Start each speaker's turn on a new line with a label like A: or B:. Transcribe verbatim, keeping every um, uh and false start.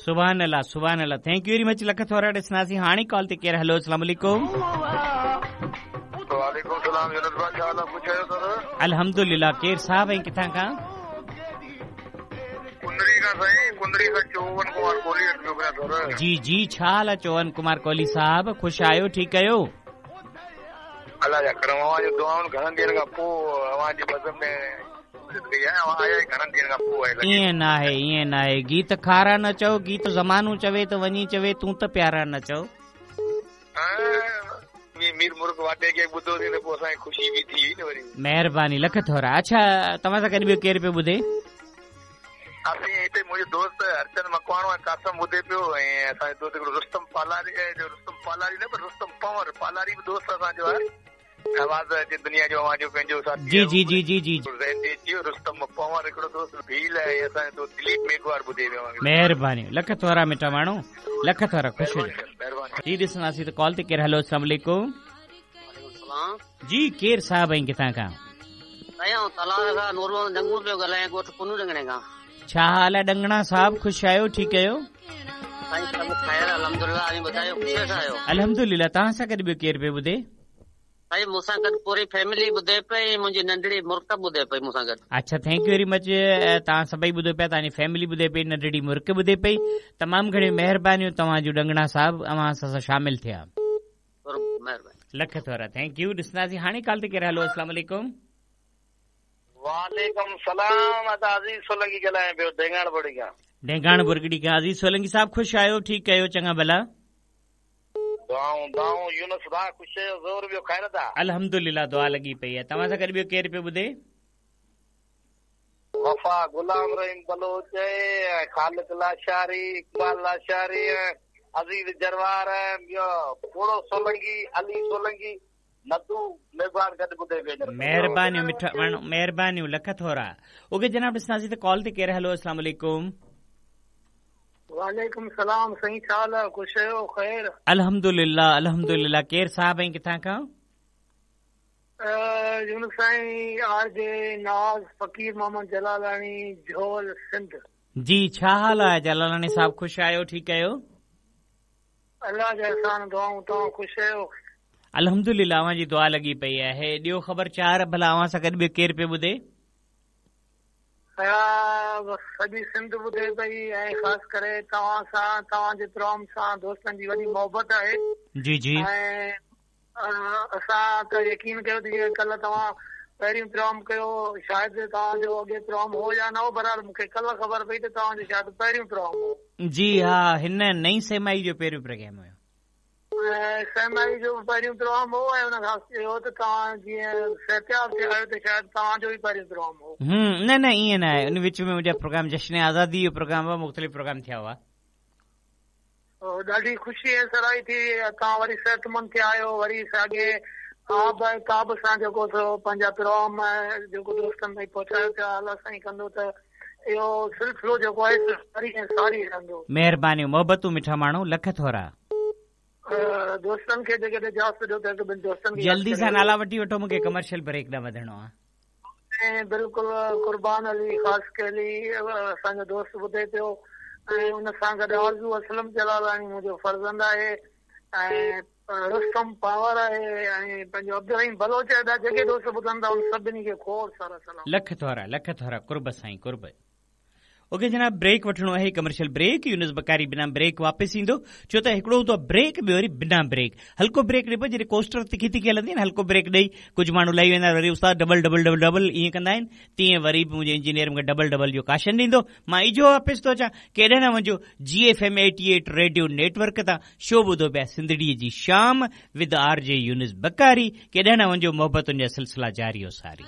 A: सुभान अल्लाह सुभान अल्लाह। Thank you very much, lakh थोरा। ॾिसंदासीं हाणे कॉल ते केरु। हलो, अस्सलाम वालेकुम।
B: वालेकुम सलाम यूनुस भाई, छा हाल आहे? ख़ुशि आहियो सर?
A: अल्हम्दुलिल्लाह। केरु साहिब ऐं किथां खां?
B: कुंदड़ी खां साईं, कुंदड़ी खां चौवन कुमार कोहली पियो करियां सर।
A: जी जी, छा हाल आहे चौवन कुमार कोहली साहिब? ख़ुशि आहियो, ठीकु आहियो?
B: अलाह जा करम, अव्हां जो दुआउनि घणनि ॾींहनि खां पोइ अव्हां जी बज़म में
A: ईअं न आहे, ईअं न आहे। गीत खारा न चओ, गीत ज़मानो चवे त वञी चवे, तूं त प्यारा न चओ।
B: मीर मुर्ग वाटे खे ॿुधोसीं त पोइ असांखे ख़ुशी बि थी न वरी।
A: महिरबानी, लख थोरा। अच्छा, तव्हां सां गॾु ॿियो केरु पियो ॿुधे?
B: असीं हिते मुंहिंजो दोस्त हरचंद मकवाणो ऐं कासम ॿुधे पियो ऐं असांजो दोस्त हिकिड़ो रुस्तम पालारी, रुस्तम पालारी न पर रुस्तम पंवर पालारी बि दोस्त असांजो आहे। आवाज़ जे दुनिया जो अव्हांजो पंहिंजो साथी
A: जी जी जी जी जी
B: रुस्तम पंवर हिकिड़ो दोस्त भील आहे, असांजो दोस्त दिलीप मेघवार ॿुधे पियो।
A: महिरबानी, लख थोरा मिठा माण्हू, लख थोरा, ख़ुशि हुजो। जी ॾिसंदासीं त कॉल ते केरु। हलो, अस्सलाम वालेकुम। जी, केरु साहिब ऐं किथां खां? छा हाल आहे डंगणा साहिब? ख़ुशि आहियो, ठीकु आहियो? अल्हम्दुलिल्लाह। तव्हां सां गॾु ॿियो केरु पियो ॿुधे?
C: भाई मूंसां गॾु पूरी फैमिली ॿुधे पई, मुंहिंजी नंढड़ी मुर्क ॿुधे पई मूंसां गॾु।
A: अच्छा, thank you very much. तव्हां सभई ॿुधो पिया, तव्हांजी फैमिली ॿुधे पई, नंढड़ी मुर्क ॿुधे पई। तमामु घणियूं महिरबानियूं तव्हांजूं डंगणा साहिब, अव्हां असां सां शामिल थिया। लख थोरा, thank you. ॾिसंदासीं हाणे कॉल ते केरु। हलो, अस्सलाम वालेकुम।
B: वालेकुम सलाम। अज़ीज़ सोलंकी ॻाल्हायां पियो ढेंगाण बुर्गड़ी खां।
A: ढेंगाण बुर्गड़ी खां अज़ीज़ सोलंकी साहिब, ख़ुशि आहियो, ठीकु आहियो? चङा भला।
B: दुआऊं दुआऊं यूनुस भाउ, ख़ुशि आहियो? ज़ोर ॿियो ख़ैर था?
A: अल्हम्दुलिल्लाह, दुआ लॻी पई आहे। तव्हां सां गॾु ॿियो केरु पियो ॿुधे?
B: वफ़ा गुलाम रहीम बलोच, ख़ालिक लाशारी, इक़बाल लाशारी, अज़ीज़ जरवार, ॿियो पोड़ो सोलंकी, अली सोलंकी, नदू मेघवार गॾु ॿुधे पियो।
A: महिरबानियूं मिठा माण्हू, महिरबानियूं, लख थोरा। ओके जनाब, ॾिसंदासीं त कॉल ते केरु। हलो, अस्सलाम वालेकुम।
D: वालेकुम सलाम साईं, छा हाल आहे? ख़ुशि आहियो? ख़ैर
A: अल्हम्दुलिल्लाह अल्हम्दुलिल्लाह। केरु साहिब ऐं किथां खां?
D: यूनुस साईं, आर जे नाज़ फ़क़ीर मोहम्मद जलालानी, झोल सिंध।
A: जी, छा हाल आहे जलालानी साहिब? ख़ुशि आहियो, ठीकु आहियो?
D: अलाह जा एहसान, दुआऊं, तव्हां ख़ुशि आहियो?
A: अल्हम्दुलिल्लाह, अव्हां जी दुआ लॻी पई आहे। ॾियो ख़बर चार भला, अव्हां सां गॾु ॿियो केरु पियो ॿुधे?
D: सॼी सिंध ॿुधे पई ऐं ख़ासि करे तव्हां सां, तव्हांजे प्रोग्राम सां दोस्तनि जी वॾी मोहबत आहे।
A: जी जी।
D: ऐं असां त यकीन कयो त जीअं कल्ह तव्हां पहिरियों प्रोग्राम कयो, शायदि तव्हांजो अॻे प्रोग्राम हो या न हो, बहरहाल मूंखे कल्ह ख़बर पई त तव्हांजो शायदि पहिरियों प्रोग्राम हो।
A: जी हा, हिन नई सेमाई जो पहिरियों प्रोग्राम हुयो।
D: ऐं सेमाई जो पहिरियों प्रोग्राम हो ऐं हुन खां इहो त तव्हां जीअं सिहतियाब थिया आहियो त शायदि तव्हांजो ई पहिरियों प्रोग्राम हो।
A: हम्म, न न ईअं न आहे। उन विच में मुंहिंजा प्रोग्राम जश्न आज़ादी जो प्रोग्राम हुआ, मुख़्तलिफ़ प्रोग्राम थिया हुआ।
D: ॾाढी ख़ुशी ऐं सराही थी, तव्हां वरी सिहतमंद थिया आहियो, वरी साॻे आब ऐं ताब सां जेको सो पंहिंजा प्रोग्राम जेको दोस्तनि ताईं पहुचायो पिया। अलाह साईं कंदो त इहो सिलसिलो जेको आहे सारी ऐं सारी रहंदो।
A: महिरबानियूं, मोहबतूं मिठा माण्हू, लख थोरा।
D: दोस्तनि खे जेकॾहिं इजाज़त ॾियो त हिकु ॿिनि दोस्तनि खे
A: जल्दी सां नाला वठी वठो, मूंखे कमर्शियल ब्रेक ॾांहुं वधणो आहे।
D: ऐं बिल्कुलु कुर्बान अली ख़ासि असांजो दोस्त ॿुधे पियो ऐं उन सां गॾु आरज़ू असलम जलालानी मुंहिंजो फर्ज़ंद आहे ऐं रुस्तम पावर आहे ऐं पंहिंजो अब्दुल बलोच आहे। जेके दोस्त ॿुधनि था उन सभिनी खे खोड़ सारा सलाम।
A: लख थोरा, लख थोरा, कुर्ब साईं कुर्ब। ओके जनाब, ब्रेक वठिणो आहे, कमर्शियल ब्रेक। यूनुस बकारी बिना ब्रेक वापसि ईंदो, छो त हिकिड़ो हूंदो आहे ब्रेक, ॿियो वरी बिना ब्रेक। हल्को ब्रेक ॾिबो, जॾहिं कोस्टर तिखी तिखी हलंदी आहे न, हल्को ब्रेक ॾेई कुझु माण्हू लही वेंदा, वरी उस्ताद डबल डबल डबल डबल ईअं कंदा आहिनि, तीअं वरी बि मुंहिंजो इंजीनियर मूंखे डबल डबल जो काशन ॾींदो। मां इजो वापसि थो अचां, केॾे न वञिजो। G F M eighty eight radio network तां शो ॿुधो पिया सिंधड़ीअ जी शाम with R J Yunus Bakari. केॾे न वञिजो, मोहबतुनि जा सिलसिला जारी हो सारी।